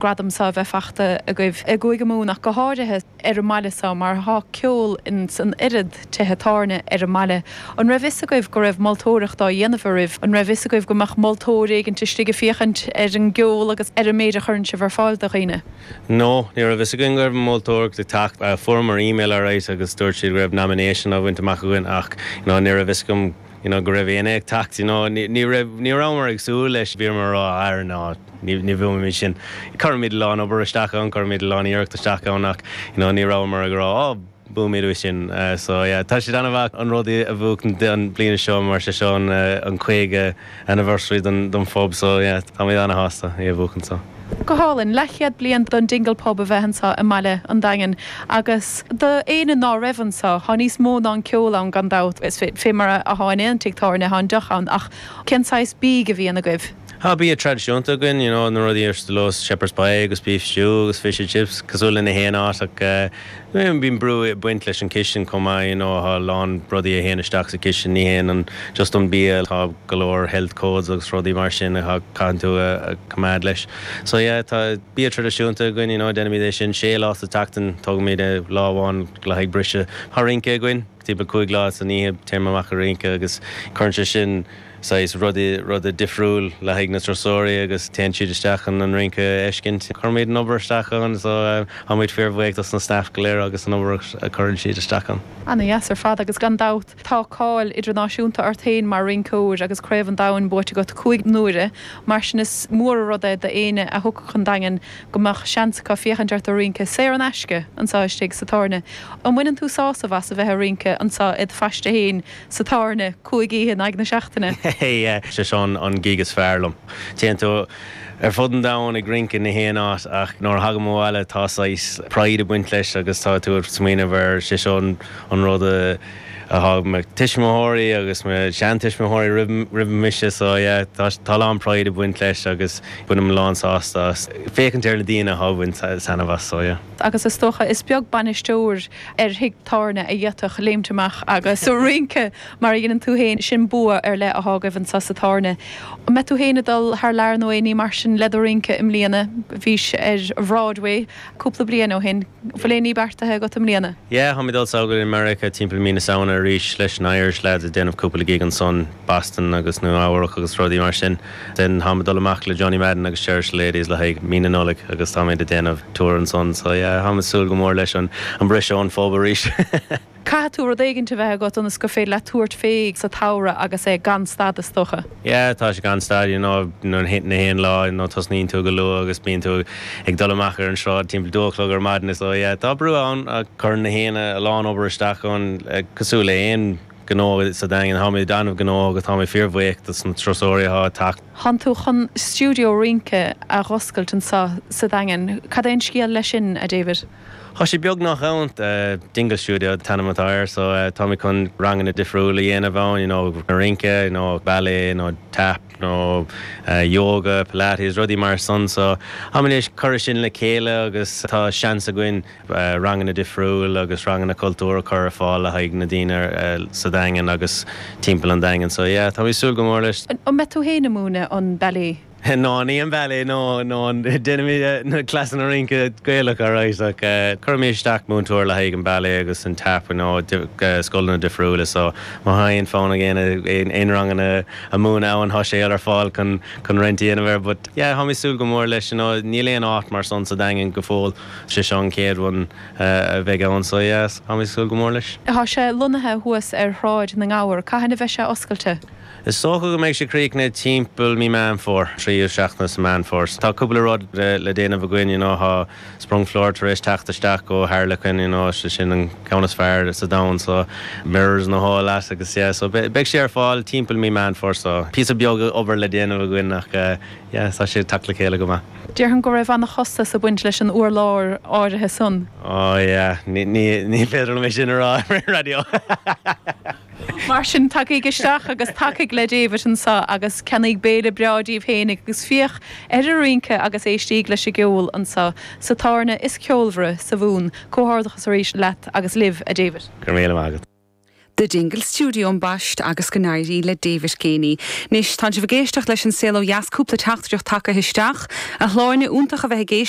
Gradam seo a bheith fachta agaibh i gCúige Mumhan ach go háirithe ar an mbaile seo mar thá ceol ins an oiread tithe tábhairne ar an mbaile. An raibh fhios agaibh go raibh moltóireacht á dhéanamh oraibh? An raibh fhios agaibh go mbeadh moltóir éigint istigh ag féachaint ar an gceol agus ar an méid a chuireann sibh ar fáil do dhaoine? No, ní raibh fhios againn go raibh moltóireacht ag teacht. Fuaireamar email alright agus dúirt siad go raibh nomination á bhaint amach againn ach you know ní raibh fhios agam you know go raibh éinne ag teacht you know ní ní raibh ní rabhamar ag súil leis bhíomar ag rá ah no ní ní bhuafaimid sin cuirimid a lán obair isteach ann cuirimid a lán iarracht isteach ann ach you know ní rabhamar ag rá oh buafaimid é sin so yeah tá sé an-mhaith an rud a bhuachan an bliana seo mar sé seo an an 50 anniversary don don phub so yeah táimid an-shásta é a bhuachan so. Go hálainn. Leathchéad bliain don Dingle Pub a bheith anseo i mbaile an Daingin agus do éinne ná raibh anseo, thá níos mó ná an ceol ann gan dabht, is fé mar athá in aon tigh tábhairne, thá an deoch ann ach cén saghas bídh a bhíonn agaibh? Thá bia traidisiúnta againn, you know, na rudaí ar nós shepherd's pie agus beef stew agus fish and chips, cosúil le na haon áit ach bíonn brú ag baint leis an chistin chomh maith, you know, thá a lán rudaí a théann isteach sa chistin, ní haon an just an bia, tá go leor health codes agus rudaí mar sin a chaitheann tú a choimeád leis. So yeah, tá bia traidisiúnta againn, you know, déanaimid é sin sé lá sa tseachtain, tógaimid lá amháin le haghaidh briseadh. Tá rince againn, timpeall 5 lá san oíche, téim amach ag rince agus cuireann sé sin saghas rudaí, ruda difriúil le haghaidh na turasóirí agus téann siad isteach chun an rince a fheiscint. Cuirimid an obair isteach ann so táimid fíorbhuíoch dos na staff go léir agus an obair a chuireann siad isteach ann. Ana-dheas ar fad agus gan dabht tá cáil idirnáisiúnta ort féin mar rinceoir agus Craobh an Domhain buaite agat 5 n-uaire, mar sin is mór an rud é d'éinne a thiocfadh chun Daingin go mbeadh seans acu féachaint ort ag rince saor in aisce anseo istigh sa tábhairne. An mbaineann tú sásamh as a bheith ag rince anseo id phaiste féin sa tábhairne 5 oíche in aghaidh na seachtaine? Yeah, sé seo an gig is fearr liom. Téann tú ar fud an domhain ag rince na haon áit ach nuair a thagaim abhaile tá saghas pride ag baint leis agus tá tú ag smaoineamh ar sé seo an rud a thug mo tuismitheoirí agus mo sheantuismitheoirí roimh roimh mise so yeah tá tá a lán pride ag baint leis agus bainim a lán sásta as féachaint ar na daoine atá ag baint taitneamh as so yeah. Agus is dócha is beag bainisteoir ar thigh tábhairne a d'fhéadfadh léimt amach agus rince mar a dhéanann tú féin, sin bua ar leith athá agaibh anseo sa tábhairne. An mbeidh tú féin ag dul thar lear nó aon ní mar sin le do rince i mbliana? Bhís ar Bhroadway cúpla bliain ó shin. Bhfuil aon ní beartaithe agat i mbliana? Yeah, táim ag dul sall go dtí Meiriceá timpeall mí na Samhna arís leis an Irish lads ag déanamh cúpla gig ansan, Boston agus Nua Eabhrac agus rudaí mar sin. Then táim ag dul amach le Johnny Madden agus Cherish the Ladies le haghaidh mí na Nollag agus táimid ag déanamh tour ansan so yeah, táim ag súil go mór leis an an briseadh ón phub arís. Caithfidh tú rud éigint a bheith agat ionas gur féidir leat tabhairt fé sa tsamhradh agus é gan stad is dócha. Yeah, tá sé gan stad, you know, na haon lá, you know, tosnaíonn tú go luath agus bíonn tú ag dul amach ar an sráid timpeall dó a chlog ar maidin so yeah, tá brú ann ach cuireann na haoinne a lán obair isteach ann cosúil le aon gnó sa Daingean. Táimid an-ghnóthach agus táimid fíorbhuíoch dos na turasóirí atá ag teacht. Thánn tú chun stiúideo rince a dh'oscailt anseo sa Daingean. Cad é an scéal leis sin, a David? Tá sé beagnach ann. Dingle Studio an t-ainm atá air so táimid chun ranganna difriúla a dhéanamh ann, you know, rince, you know, ballet nó tap nó yoga, pilates, rudaí mar san. So táimid ag cur sin le chéile agus tá seans againn ranganna difriúil agus ranganna cultúir a chur ar fáil le haghaidh na daoine sa Daingean agus timpeall an Daingin. So yeah, táimid ag súil go mór leis. An mbeidh tú féin ag múineadh an ballet? No, ní an ballet, no, no, déanaimid na cleasanna rince Gaelach alright ach cuirfimid isteach múinteoir le haghaidh an ballet agus an tap, you know, scoileanna difriúla so má tá aon fonn ag éinne aon ranganna a mhúineadh ann tá sé ar fáil chun chun rent a dhéanamh air but yeah táimid ag súil go mór leis, you know, níl aon áit mar san sa Daingean go fóill. Sé seo an chéad one a bheidh ann so yeah, táimid ag súil go mór leis. Tá sé lonnaithe thuas ar Shráid na nGabhar. Cathain a bheidh sé oscailte? Is dócha go mbeidh sé críochnaithe timpeall mí Meán Fómhair, tríú seachtain sa Meán Fómhair. Tá cúpla rud le déanamh againn, you know, tá sprung floor tar éis teacht isteach ó Harlequin, you know, sé sin an ceann is fearr sa domhan so mirrors and the whole lot agus yeah, so beidh sé ar fáil timpeall mí Meán Fómhair so píosa beag obair le déanamh againn ach yeah, tá sé ag teacht le chéile go maith. Déarfainn go raibh an-chostas ag baint leis an urlár áirithe san. Oh yeah, ní, ní, ní féidir liom é sin a rá ar an raidió. Mar sin, tagaig isteach agus tacaigh le David anseo agus ceannaíg béile breá díbh féinig agus féach ar an rince agus éistíg leis an gceol anseo sa tábhairne is ceolmhaire sa Mhumhain. Comhghairdeachas arís leat agus libh, a David. Go raibh míle maith agat. The Dingle Studio ambaist agus go n-éirí le David Geaney. Anois, tá sibh ag éisteacht leis An Saol Ó Dheas, cúpla teachtaireacht tagtha isteach. A Shláine, iontach a bheith ag éisteacht.